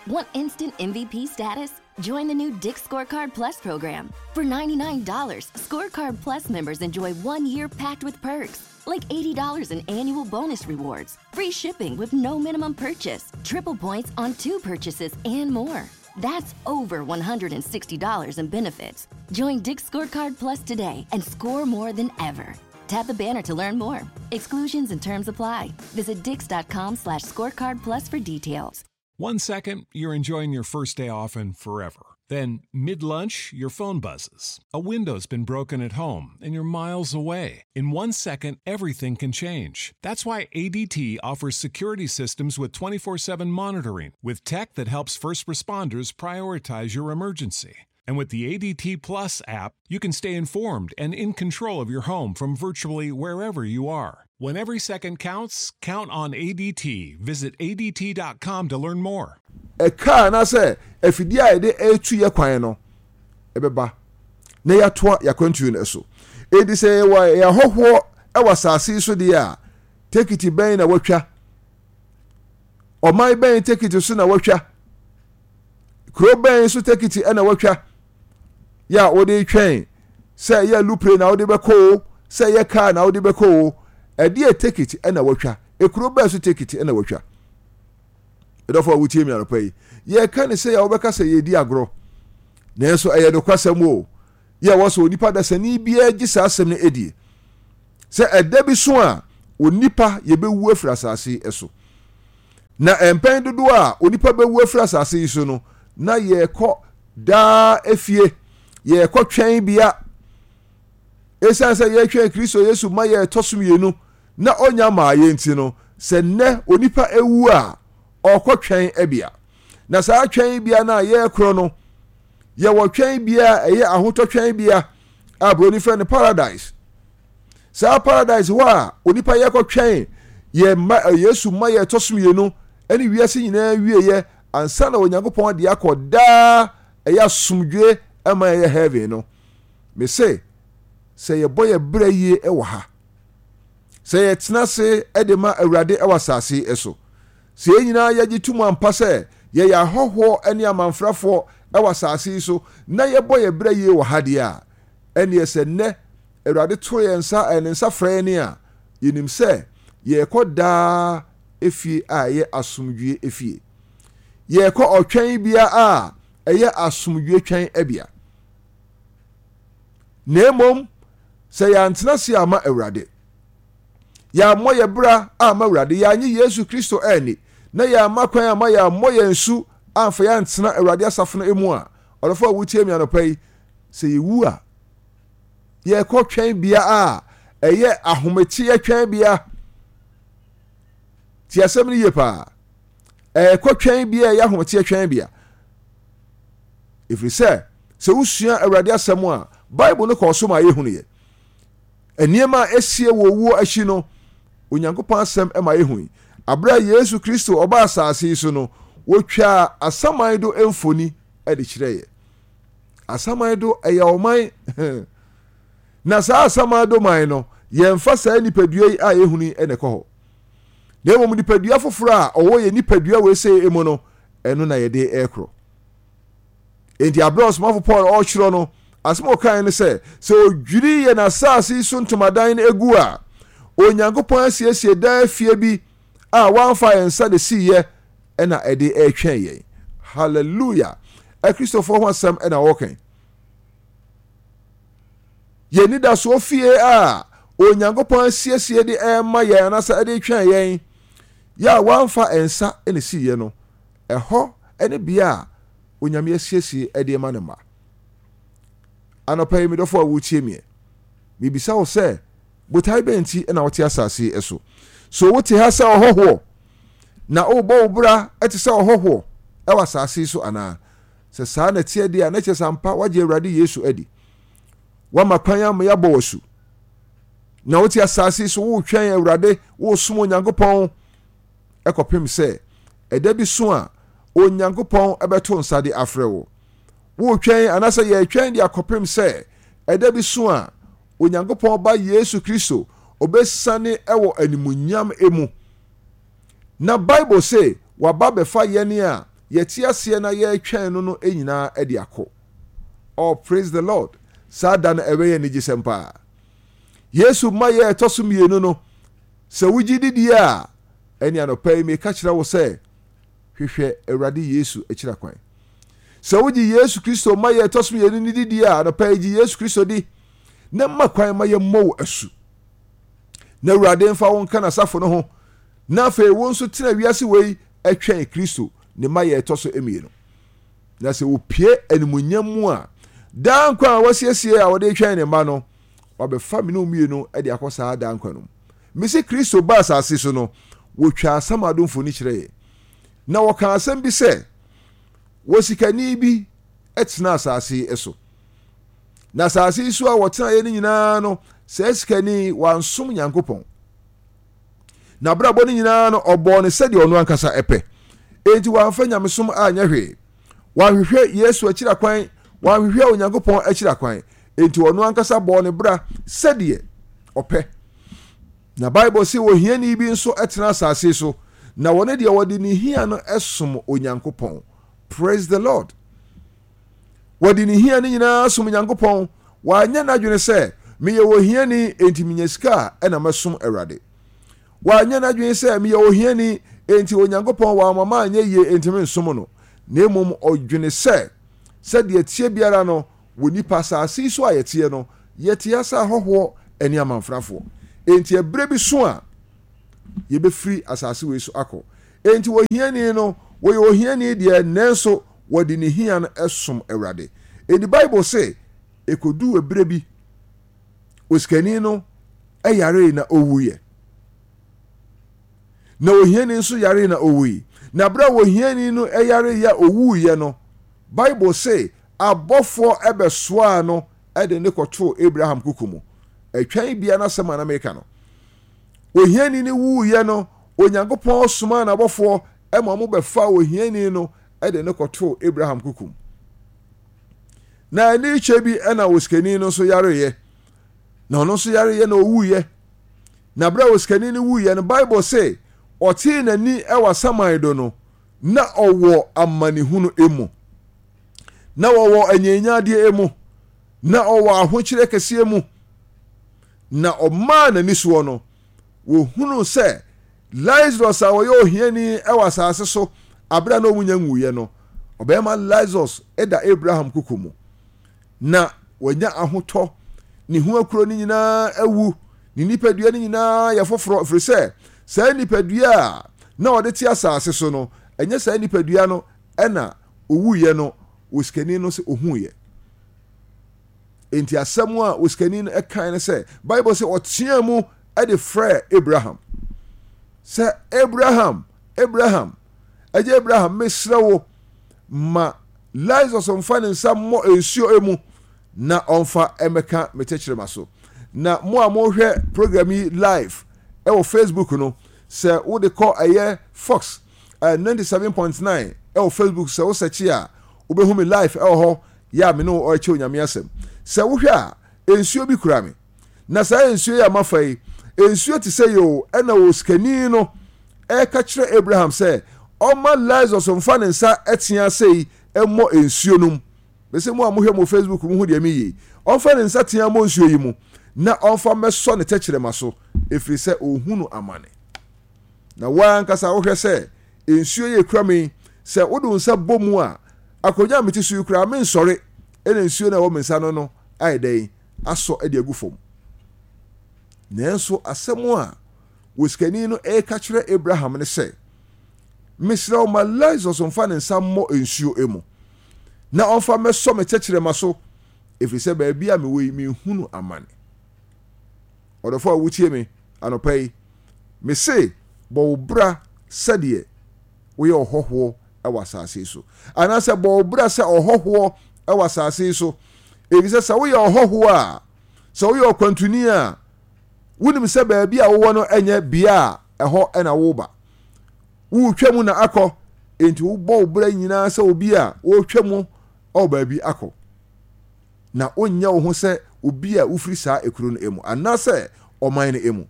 Want instant M V P status? Join the new Dick's Scorecard Plus program. For ninety-nine dollars, Scorecard Plus members enjoy one year packed with perks, like eighty dollars in annual bonus rewards, free shipping with no minimum purchase, triple points on two purchases, and more. That's over one hundred sixty dollars in benefits. Join Dick's Scorecard Plus today and score more than ever. Tap the banner to learn more. Exclusions and terms apply. Visit dicks.com slash scorecard plus for details. One second, you're enjoying your first day off and forever. Then, mid-lunch, your phone buzzes. A window's been broken at home, and you're miles away. In one second, everything can change. That's why A D T offers security systems with twenty-four seven monitoring, with tech that helps first responders prioritize your emergency. And with the A D T Plus app, you can stay informed and in control of your home from virtually wherever you are. When every second counts, count on A D T. Visit A D T dot com to learn more. Eka na se efidie a yɛde etu yɛ kwan no ebeba na yɛatoa yɛakwantuo no so. Edi sɛ yɛwɔ yɛahɔhoɔ ɛwɔ asase so deɛ a, tekiti bɛn na watwa? Ɔman bɛn tekiti so na watwa? Kuro bɛn so tekiti ɛna watwa? Yɛ a wode twɛn sɛ ɛyɛ lupre na wode bɛkɔ o, sɛ ɛyɛ kaa na wode bɛkɔ o, ɛdeɛ tekiti ɛna watwa? Ekuro bɛn so tekiti ɛna watwa? Ɛdɔfo a wotie mi anɔpa yi, yɛka ne sɛ yɛ wobɛka sɛ yɛdi agorɔ, nanso ɛyɛ nokwasɛm o. Yɛ wɔ sɛ onipa dasani biara gye saa asɛm no edie sɛ ɛda bi so a onipa yɛbɛwu afiri asase yi so. Na mpɛn dodoɔ a onipa bɛwu afiri asase yi so no, na yɛkɔ daa efie, yɛkɔ twɛn bea. Esiane sɛ yɛtwɛn Kristo Yesu ma yɛtɔ so mmienu na ɔnya maa yɛn nti no, sɛ nnɛ onipa ewu a, ɔkɔ twɛn bea. Na saa twɛn bea no a yɛrekorɔ no, yɛwɔ twɛn bea a ɛyɛ ahotɔ twɛn bea a buroni frɛ no paradise. Saa paradise hɔ a onipa yɛkɔ twɛn yɛ ma, Yesu ma yɛtɔ so mmienu ɛne wiase nyinaa wieɛ ansa na Onyankopɔn de akɔ daa ɛyɛ asomdwe ɛma ɛyɛ heaven no. Mese sɛ yɛbɔ yɛ brɛ yie ɛwɔ ha, sɛ yɛtena ase ɛde ma Awurade ɛwɔ asase ɛso, sɛ yɛn nyinaa yɛgye tom ampa sɛ yɛyɛ ahɔhoɔ ne amanfrafoɔ ɛwɔ asase yi so na yɛbɔ yɛ brɛ yie wɔ ha deɛ a, ɛneɛ sɛ nnɛ Awurade to yɛn nsa, ɛne nsa frɛ yɛn a, yɛnim sɛ yɛrekɔ daa efie a ɛyɛ asomdwie efie. Yɛrekɔ ɔtwɛn bea a ɛyɛ asomdwie twɛn bea. Na mmom, sɛ yɛantena ase ama Awurade, yɛammɔ yɛ bra ama Awurade, yɛanye Yesu Kristo anni, na yɛamma kwan ama yɛammɔ yɛn su amfa yɛantena Awurade asafo no mu a, ɔdɔfo a wotie me anɔpa yi, sɛ yɛwu a, yɛkɔ twɛn bea a ɛyɛ ahometeɛ twɛn bea. Ti asɛm no yie paa. Ɛkɔ twɛn bea a ɛyɛ ahometeɛ twɛn bea. Ɛfiri sɛ, sɛ wosua Awurade asɛm a, Bible no kɔɔ so ma yɛhunu yɛ. Nneɛma a esie wɔ owuo akyi no, Onyankopɔn asɛm ma yɛhu yi. Abere a Yesu Kristo ɔbaa asase yi so no, wotwaa asaman do mfoni de kyerɛɛ yɛ. Asaman do ɛyɛ ɔman. Na saa asaman do man no, yɛmfa saa nipadua yi a yɛhunu yi na ɛkɔ hɔ. Na mmom nipadua foforɔ a ɔwɔ yɛ nipadua wɔ ese mu no, ɛno na yɛde ɛrekorɔ. Enti abere a ɔsomafo Paul ɔrekyerɛ no, asɛm a ɔkae ne sɛ, sɛ odwiri yɛn asase yi so ntomadan no egu a, Onyankopɔn asiesie daa fie bi a wamfa yɛn nsa de siiɛ ɛna ɛde ɛretwɛn yɛn. Hallelujah! Akristofoɔ ho asɛm ɛna ɔreka. Yɛn nidasoɔ fie a Onyankopɔn asiesie de ɛrema yɛn anaasɛ ɛde retwɛn yɛn. Yɛ a wɔamfa nsa na esiiɛ no, ɛhɔ ne bea a Onyame asiesie de ma ne mma. Anɔpa yi, me dɔfo a woretie meɛ, mebisa wo sɛ, botae bɛn nti na wote asase yi so? So wote ha sɛ ɔhɔhoɔ, na worebɔ wo bra te sɛ ɔhɔhoɔ wɔ asase yi so anaa? Sɛ saa na ɛteɛ deɛ a, na kyerɛ sɛ ampa woagye Awurade Yesu adi. Woama kwan ama yɛabɔ wo asu. Na wote asase yi so woretwɛn Awurade, woresom Onyankopɔn ɛkɔpem sɛ ɛda bi so a Onyankopɔn bɛto nsa de afrɛ wo. Woretwɛn anaasɛ yɛretwɛn de akɔpem sɛ ɛda bi so a Onyankopɔn Ba Yesu Kristo ɔbɛsiane wɔ animuonyam mu. Na Bible se waba bɛfa yɛn a yɛte aseɛ na yɛretwɛn no no nyinaa de akɔ. Oh, praise the Lord. Saa da no ɛbɛyɛ anigyesɛm paa. Yesu ma yɛ ɛtɔ so mmienu no, sɛ wogye didie a, ɛne anɔpa yi meka kyerɛ wo sɛ hwehwɛ Awurade Yesu akyira kwan. Sɛ wogye Yesu Kristo ma yɛ ɛtɔ so mmienu no didie a, anɔpa yi gye Yesu Kristo di na ma kwan ma yɛmmɔ wo asu. Na Awurade mfa wo nka n'asafo no ho, na afei wo nso tena wiase wei twɛn Kristo ne ma yɛ ɛtɔ so mmienu. Na sɛ wɔpue animuonyam mu a, daa nkwa a wasiesie a wɔde retwɛn ne mma no, wabɛfa me ne wo mmienu de akɔ saa daa nkwa no mu. Mese Kristo baa asase so no, wɔtwaa asamado mfoni kyerɛɛ. Na wɔkaa asɛm bi sɛ, wɔ sikani bi tena asase yi so. Na asase yi so a wɔtenaeɛ no nyinaa no, saa sikani wansom Nyankopɔn. N'abrabɔ no nyinaa no, ɔbɔɔ no sɛdeɛ ɔno ankasa pɛ. Enti wamfa nyamesom anyɛ hwee. Wanhwehwɛ Yesu akyiri akwan, wanhwehwɛ Onyankopɔn akyiri akwan. Enti ɔno ankasa bɔɔ ne bra sɛdeɛ ɔpɛ. Na Bible se ohiani bi nso tena asase so, na wɔne deɛ wɔde ne hia no som Onyankopɔn. Praise the Lord. Wɔde ne hia no nyinaa som Onyankopɔn. Wanyɛ n'adwene sɛ, meyɛ ohiani, enti menya sika a ɛna mɛsom Awurade. Wanyɛ n'adwene sɛ, meyɛ ohiani, enti Onyankopɔn wamma manyɛ yie, enti mensom no. Na mmom ɔdwene sɛ, sɛdeɛ ɛteɛ biara no, wɔ nnipa asase yi so a yɛteɛ no, yɛte ase ahɔhoɔ ne amanfrafoɔ. Enti ɛberɛ bi so a, yɛbɛfiri asase wei so akɔ. Enti ohiani no, wɔyɛ ohiani deɛ, nanso wɔde ne hia no som Awurade. Enti Bible se, ɛkɔduu ɛberɛ bi, osikani no yaree na ɔwuiɛ. Na ohiani nso yaree na ɔwui. Na berɛ a ohiani no yareeɛ a ɔwuiɛ no, Bible se abɔfoɔ bɛsoaa no de ne kɔtoo Abraham koko mu. Ɛtwɛn bia n'asɛm a na meka no. Ohiani no wuiɛ no, Onyankopɔn somaa n'abɔfoɔ ma wɔn bɛfaa ohiani no de no kɔtoo Abraham koko mu. Na ɛne kyɛ bi na osikani no nso yareeɛ. Na ɔno nso yareeɛ na ɔwuiɛ. Na berɛ a osikani no wuiɛ no, Bible se ɔtee n'ani wɔ asaman do no, na ɔwɔ amanehunu mu. Na ɔwɔ anyinyadeɛ mu. Na ɔwɔ ahokyerɛ kɛseɛ mu. Na ɔmaa n'ani soɔ no, wɔhunuu sɛ Lazarus a ɔyɛ ohiani wɔ asase so abere a na wɔn nya nwuiɛ no, ɔbɛrima Lazarus da Abraham koko mu. Na wanya ahotɔ, ne ho akuro no nyinaa awu, ne nipadua no nyinaa yɛ foforɔ, ɛfiri sɛ saa nipadua a na ɔde te asase so no, ɛnyɛ saa nipadua no ɛna owuiɛ no, osikani no sɛ ohuiɛ. Enti asɛm a osikani no kae ne sɛ, Bible sɛ ɔteaa mu de frɛɛ Abraham sɛ, Abraham, Abraham, agya Abraham, mesrɛ wo, ma Lazarus mfa ne nsa mmɔ nsuo mu na ɔmfa mmɛka me tɛkyerɛma so. Na mo a mohwɛ program yi live ɛwɔ Facebook no, sɛ wode kɔ ɛyɛ Fox uh, ninety-seven point nine ɛwɔ Facebook, sɛ wo search a, wobɛhu me live ɛwɔ hɔ yɛ a me ne wo ɔrekyɛ Onyame asɛm. Sɛ wohwɛ a, nsuo bi kura me. Na saa nsuo yi a mafa yi, nsuo te sɛ yoo, ɛna osikani no ɛreka kyerɛ Abraham sɛ ɔma Lazarus mfa ne nsa tea sei mmɔ nsuo no mu. Bɛsɛ mo a mohwɛ mo Facebook mu hu deɛ meyɛ yi. Ɔmfa ne nsa tea mmɔ nsuo yi mu na ɔmfa mmɛsɔ ne tɛkyerɛma so, ɛfiri sɛ ɔhunu amane. Na wo ankasa wohwɛ sɛ nsuo yi ekura me yi, sɛ wode wo nsa bɔ mu a, akonnwa a mete so yi koraa mensɔre, ɛna nsuo no a ɛwɔ me nsa no no ayɛ dɛn asɔ de agu fam. Nanso asɛm a Osikani no reka kyerɛ Abraham ne sɛ, Mesrɛ wo ma Lazarus mfa ne nsa mmɔ nsuo mu, na ɔmfa mmɛsɔ me tɛkyerɛma so, ɛfiri sɛ baabi a mewɔ yi mehunu amane. Ɔdɔfo a wotie me anɔpa yi, mese bɔ wo bra sɛdeɛ woyɛ ɔhɔhoɔ wɔ asase yi so, anaasɛ bɔ wo bra sɛ ɔhɔhoɔ wɔ asase yi so, ɛfiri sɛ sɛ woyɛ ɔhɔhoɔ a, sɛ woyɛ ɔkwantuni a, wonim sɛ baabi a wowɔ no nyɛ bea a ɛhɔ na woba. Woretwa mu na akɔ, enti wobɔ wo bra nyinaa sɛ obi a ɔretwa mu wɔ baabi akɔ. Na wonyɛ wo ho sɛ obi a wofiri saa ekuro no mu anaasɛ ɔman no mu.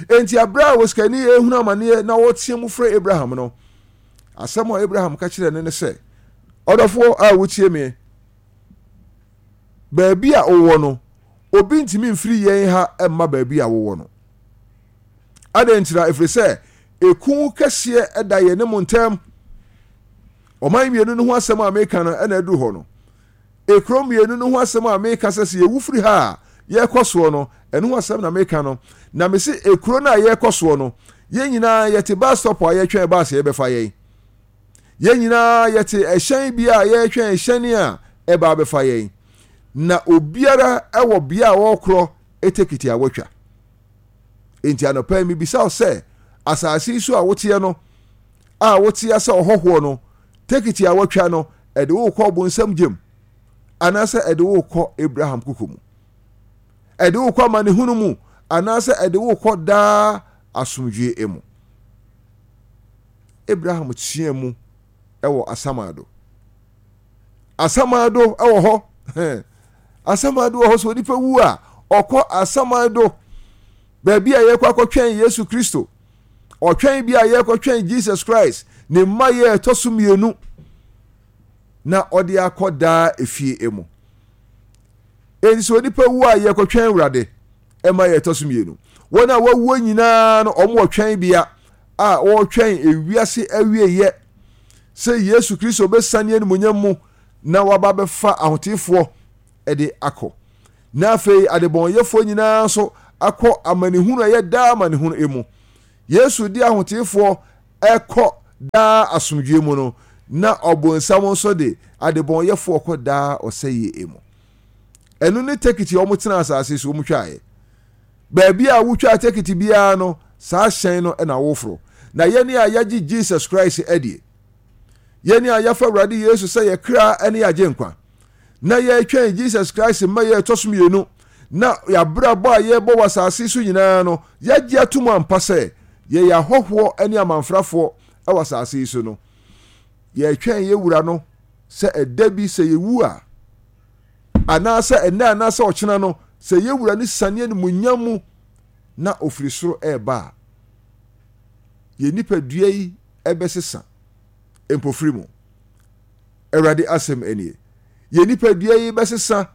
Enti abere a osikani ehunu amaneɛ na ɔreteɛ mu frɛ Abraham no, asɛm a Abraham ka kyerɛɛ no ne sɛ, Ɔdɔfoɔ a wotie me, baabi a wowɔ no, obi ntumi mfiri yɛn ha mma baabi a wowɔ no. Adɛn ntira? Ɛfiri sɛ eku kɛseɛ da yɛn ne mo ntam. Ɔman mmienu no ho asɛm a meka no ɛna aduru hɔ no. Ekuro mmienu no ho asɛm a meka sɛ sɛ yɛwu firi ha a yɛrekɔ soɔ no, ɛno ho asɛm na meka no. Na mese ekuro no a yɛrekɔ soɔ no, yɛn nyinaa yɛte bus stop a yɛtwɛn bus a yɛbɛfa yɛn. Yɛn nyinaa yɛte ɛhyɛn bi a yɛretwɛn ɛhyɛn a ɛba abɛfa yɛn. Na obiara ɛwɔ bea a ɔrekorɔ etekiti a watwa. Enti anɔpa yi mebisa wo sɛ, asase yi so a woteɛ no, a woteɛ sɛ ɔhɔhoɔ no, tekiti a watwa no, ɛde wo kɔ ɔbonsam gyem anaasɛ ɛde wo kɔ Abraham koko mu? Ɛde wo kɔ amanehunu mu anaasɛ ɛde wo kɔ daa asomdwoe mu? Abraham teɛ mu ɛwɔ asamado. Asamado ɛwɔ hɔ. Asamado wɔ hɔ sɛ onipa wu a ɔkɔ asamado, baabi a yɛkɔ akɔtwɛn Yesu Kristo. Ɔtwɛn bi a yɛkɔtwɛn Jesus Christ ne mma yɛ ɛtɔ so mmienu na ɔde akɔ daa efie emu. Enti sɛ onipa wu a yɛkɔtwɛn Awurade ɛma yɛ ɛtɔ so mmienu. Wɔn a wɔawuo nyinaa no, wɔn wɔ twɛn bea a wɔretwɛn ewiase awieyɛ sɛ Yesu Kristo bɛsane animuonyam mu na waba bɛfa ahoteefoɔ de akɔ. Na afei adebɔnyɛfoɔ nyinaa nso akɔ amanehunu a ɛyɛ daa amanehunu mu. Yesu de ahoteefoɔ ɛkɔ daa asomdwoe mu no, na ɔbonsam nso de adebɔnyɛfoɔ kɔ daa ɔsɛeɛ mu. Ɛno ne tekiti a wɔtena asase so wɔn twaeɛ. Baabi a wotwa tekiti biara no, saa hyɛn no na woforo. Na yɛne a yɛagye Jesus Christ adie, yɛne a yɛafa Awurade Yesu sɛ yɛ kra ne yɛagye nkwa, na yɛretwɛn Jesus Christ mma yɛ ɛtɔ so mmienu, na yɛabrabɔ a yɛrebɔ wɔ asase so nyinaa no, yɛagye atom ampa sɛ yɛyɛ ahɔhoɔ ne amanfrafoɔ wɔ asase yi so no, yɛretwɛn yɛ wura no sɛ ɛda bi sɛ yɛwu a, anaasɛ ɛnɛ anaasɛ ɔkyena no, sɛ yɛ wura no sane animuonyam mu na ofiri soro ɛreba a, yɛn nipadua yi ɛbɛsesa mpofiri mu. Awurade asɛm nie. Yɛn nipadua yi bɛsesa,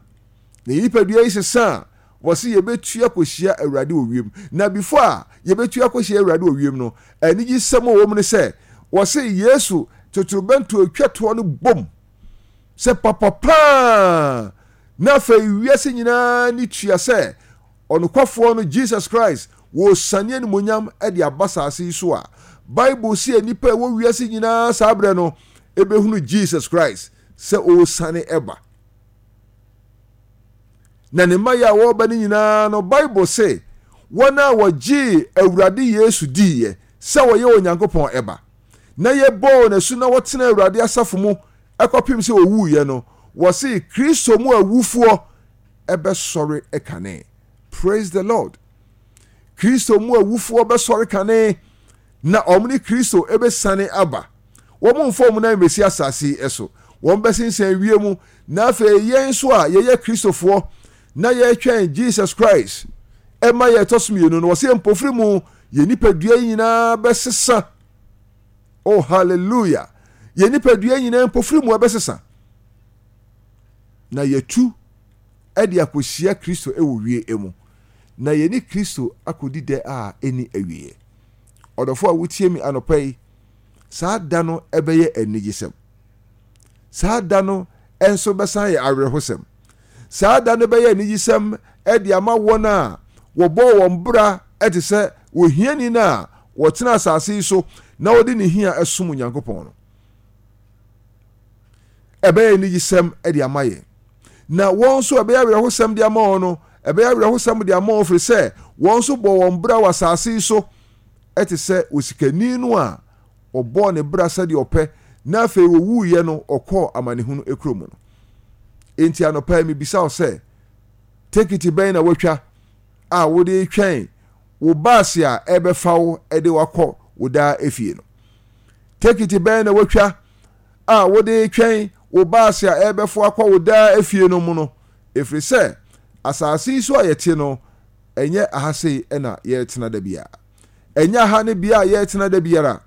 na yɛn nipadua yi sesa a, wɔsi yɛbɛtu akɔhyia Awurade wɔ wiem. Na before a yɛbɛtu akɔhyia Awurade wɔ wiem no, anigyesɛm a ɛwɔ mu ne sɛ, wɔsi Yesu totorobɛnto atwa toɔ no bom sɛ papapaa, na afei wiase nyinaa ni tua sɛ ɔnokwafoɔ no Jesus Christ wɔresane animuonyam de aba asase yi so a, Bible si nnipa a ɛwɔ wiase nyinaa saa berɛ no ɛbɛhunu Jesus Christ sɛ ɔresane ɛba. Na ne mma yɛ a wɔreba no nyinaa no, Bible se wɔn a wɔgyee Awurade Yesu diiɛ sɛ wɔyɛ Onyankopɔn ɛba, na yɛbɔɔ n'asu na wɔtena Awurade asafo mu ɛkɔpem sɛ ɔwuiɛ no, wɔse Kristo mu awufoɔ ɛbɛsɔre kane. Praise the Lord. Kristo mu awufoɔ bɛsɔre kane, na wɔn ne Kristo ɛbɛsane aba. Wɔn mfa wɔn nan mmɛsi asase yi so. Wɔn bɛsensɛn wie mu. Na afei yɛn nso a yɛyɛ Kristofoɔ na yɛretwɛn Jesus Christ ɛma yɛ ɛtɔ so mmienu no, wɔsɛ mpofiri mu yɛn nipadua yi nyinaa bɛsesa. Oh, hallelujah. Yɛn nipadua nyinaa mpofiri mu ɛbɛsesa. Na yɛtu ɛde akɔhyia Kristo ɛwɔ wie mu. Na yɛne Kristo akɔdi dɛ a ɛni awieɛ. Ɔdɔfo a wotie mi anɔpa yi, saa da no ɛbɛyɛ anigyesɛm. Saa da no nso bɛsan yɛ awerɛhosɛm. Saa da no bɛyɛ anigyesɛm ɛde ama wɔn a wɔbɔɔ wɔn bra Ɛte sɛ ohiani no a wɔtena asase yi so na wɔde ne hia ɛsom Onyankopɔn no. Ɛbɛyɛ anigyesɛm de ama yɛn. Na wɔn nso ɛbɛyɛ awerɛhosɛm de ama wɔn no, ɛbɛyɛ awerɛhosɛm de ama wɔn firi sɛ wɔn nso bɔ wɔn bra wɔ asase yi so ɛte sɛ osikani no a ɔbɔɔ ne bra sɛdeɛ ɔpɛ na afei wɔwuiɛ no ɔkɔɔ amanehunu ekuro mu no. Enti anɔpa yi mebisa wo sɛ, tekiti bɛn na watwa a wode retwɛn wo baase a ɛbɛfa wo de wakɔ wo daa efie no? Tekiti bɛn na watwa a wode retwɛn wo baase a ɛbɛfo akɔ wo daa efie no mu no? Ɛfiri sɛ asase yi so a yɛte no, ɛnyɛ aha sei na yɛretena da biara. Ɛnyɛ aha ne bea a yɛretena da biara.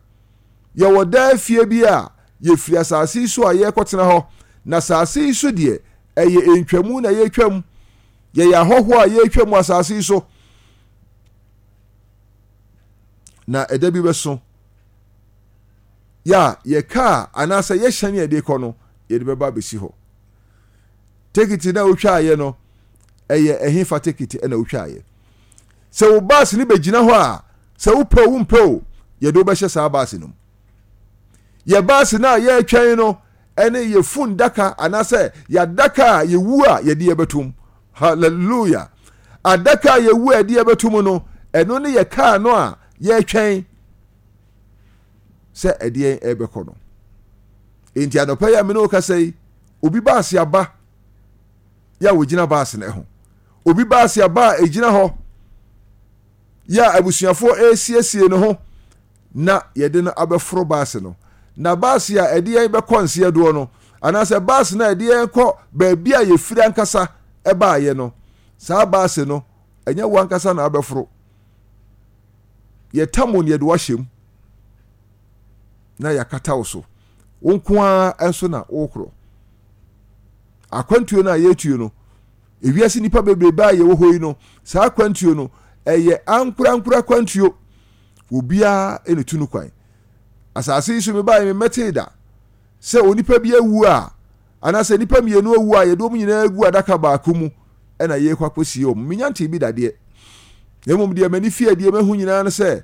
Yɛwɔ daa fie bi a yɛfiri asase yi so a yɛrekɔtena hɔ, na asase yi so deɛ, ɛyɛ ntwamu na yɛretwam. Yɛyɛ ahɔhoɔ a yɛretwam wɔ asase yi so. Na ɛda bi bɛso yɛ a yɛ kaa anaasɛ yɛhyɛn a yɛde kɔ no, yɛde bɛba abɛsi hɔ. Tekiti na wotwaeɛ no, ɛyɛ ɛhefa tekiti na wotwaeɛ? Sɛ wo baase no bɛgyina hɔ a, sɛ wopɛ o wompɛ o, yɛde wobɛhyɛ saa baase no mu. Yɛ baase no a yɛretwɛn no ɛne yɛ fun daka anaasɛ yɛadaka a yɛwu a yɛde yɛbɛtom. Hallelujah! Adaka a yɛwu a yɛde yɛbɛtom no, ɛno ne yɛ kaa no a yɛretwɛn sɛ ɛde yɛn ɛrebɛkɔ no. Enti anɔpa yi a me ne wo kasa yi, obi baase aba yɛ a wɔgyina baase no ho. Obi baase aba a ɛgyina hɔ yɛ a abusuafoɔ ɛresiesie ne ho na yɛde no abɛforo baase no. Na baase a ɛde yɛn bɛkɔ nseɛ doɔ no, anaasɛ baase no a ɛde yɛn kɔ baabi a yɛfiri ankasa ɛbaayɛ no, saa baase no, ɛnyɛ wo ankasa na abɛforo. Yɛtam wo no yɛde wahyɛ mu na yɛakata wo so. Wo nko ara nso na wokorɔ. Akwantuo no a yɛretuo no, ewiase nnipa bebrebe a yɛwɔ hɔ yi no, saa akwantuo no, ɛyɛ ankorankora akwantuo. Obiara na etu no kwan. Asase yi so mebaeɛ memmɛtee da sɛ onipa bi awu a, anaasɛ nnipa mmienu awu a yɛde wɔn nyinaa agu adaka baako mu ɛna yɛrekɔ akɔsie wɔn. Menya ntee bi dadeɛ. Na mmom deɛ m'ani fi adie mahu nyinaa ne sɛ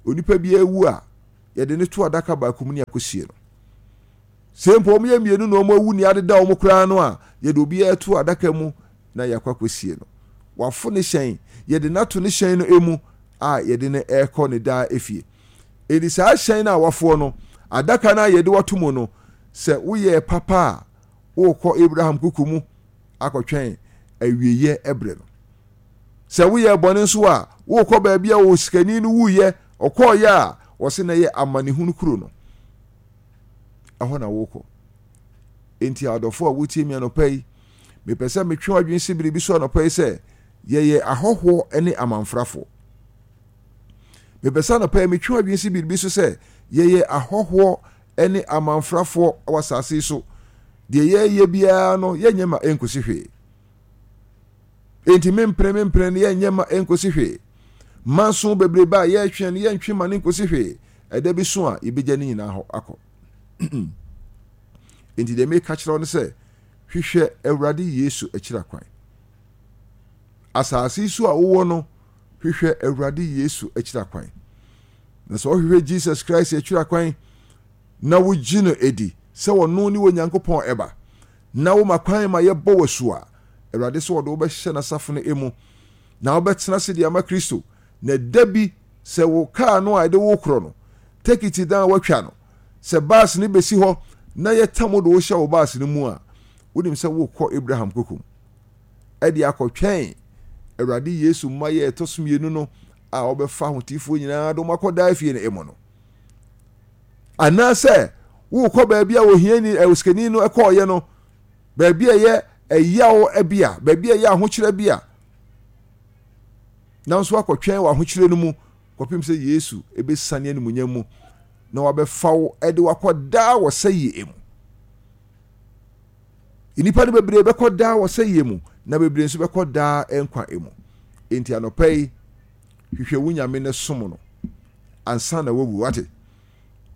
onipa bi awu a yɛde no to adaka baako mu ne akɔsie no. Sɛ mpo wɔn yɛ mmienu na wɔn awu ne adeda wɔn koraa no a, yɛde obiara to adaka mu na yɛakɔ akɔsie no. Wafo ne hyɛn, yɛde no ato ne hyɛn no mu a yɛde no ɛrekɔ ne daa efie. Enti saa hyɛn no a wafoɔ no, adaka no a yɛde wato mu no, sɛ woyɛɛ papa a, worekɔ Abraham kuku mu akɔtwɛn awieeɛ ɛberɛ no. Sɛ woyɛɛ bɔne nso a, worekɔ baabi a osikani no wuyɛ, ɔkɔɔyɛ a, wɔse na ɛyɛ amanehunu kuro no. Ɛhɔ na worekɔ. Enti adɔfo a wotie mi anɔpa yi, mepɛ sɛ metwe w'adwene si biribi so anɔpa yi sɛ yɛyɛ ahɔhoɔ ne amanfrafoɔ. Mepɛ sɛ anɔpa yi metwe w'adwene si biribi so sɛ yɛyɛ ahɔhoɔ ne amanfrafoɔ wɔ asase yi so. Deɛ yɛyɛ biara no, yɛnyɛ ma ɛnkosi hwee. Enti mempene mempene no, yɛnyɛ ma ɛnkosi hwee. Manso bebrebe a yɛretwe no, yɛntwe ma no nkosi hwee. Ɛda bi so a yɛbɛgya ne nyinaa hɔ akɔ. Enti deɛ meka kyerɛ wo no sɛ, hwehwɛ Awurade Yesu akyiri akwan. Asase yi so a wowɔ no, hwehwɛ Awurade Yesu akyiri akwan. Na sɛ wohwehwɛ Jesus Christ akyiri akwan na wogye no edi sɛ ɔno ne Onyankopɔn ɛba, na woma kwan ma yɛbɔ w'asu a, Awurade sɛ ɔde wobɛhyɛ n'asafo no emu na wobɛtena ase de ama Kristo. Na da bi sɛ wo kaa no a ɛde wo korɔ no, tekiti dan a woatwa no, sɛ baase no bɛsi hɔ na yɛtam wo de wo hyɛ wo baase no mu a, wonim sɛ wokɔ Abraham kokom ɛde akɔtwɛn Awurade Yesu mma yɛ ɛtɔ so mmienu no a wɔbɛfa ahotefoɔ nyinaa de wɔn akɔ daa fie no mu no. Anaasɛ wokɔ baabi a ohiani osikani no kɔɔyɛ no, baabi a ɛyɛ ɛyaw bi a, baabi a ɛyɛ ahokyerɛ bi a, nanso akɔtwɛn wɔ ahokyerɛ no mu kɔpem sɛ Yesu ebɛsane animuonyam mu na wabɛfa wo de wakɔ daa wɔ sɛyie mu. Nnipa no bebree bɛkɔ daa wɔ sɛyie mu, na bebree nso bɛkɔ daa nkwa mu. Enti anɔpa yi, hwehwɛ wo Nyame na som no ansa na wawu. Wate?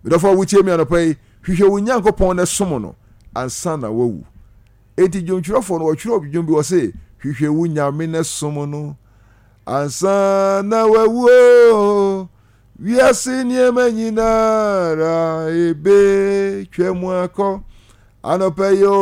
Medɔfo a wotie mi anɔpa yi, hwehwɛ wo Nyankopɔn na som no ansa na wawu. Enti dwomtwerɛfoɔ no wɔtwerɛ dwom bi wɔ se, hwehwɛ wo Nyame na som no Ansa na wawuo, wiase nneɛma nyinara ebetwa mu akɔ. Anɔpa yi o.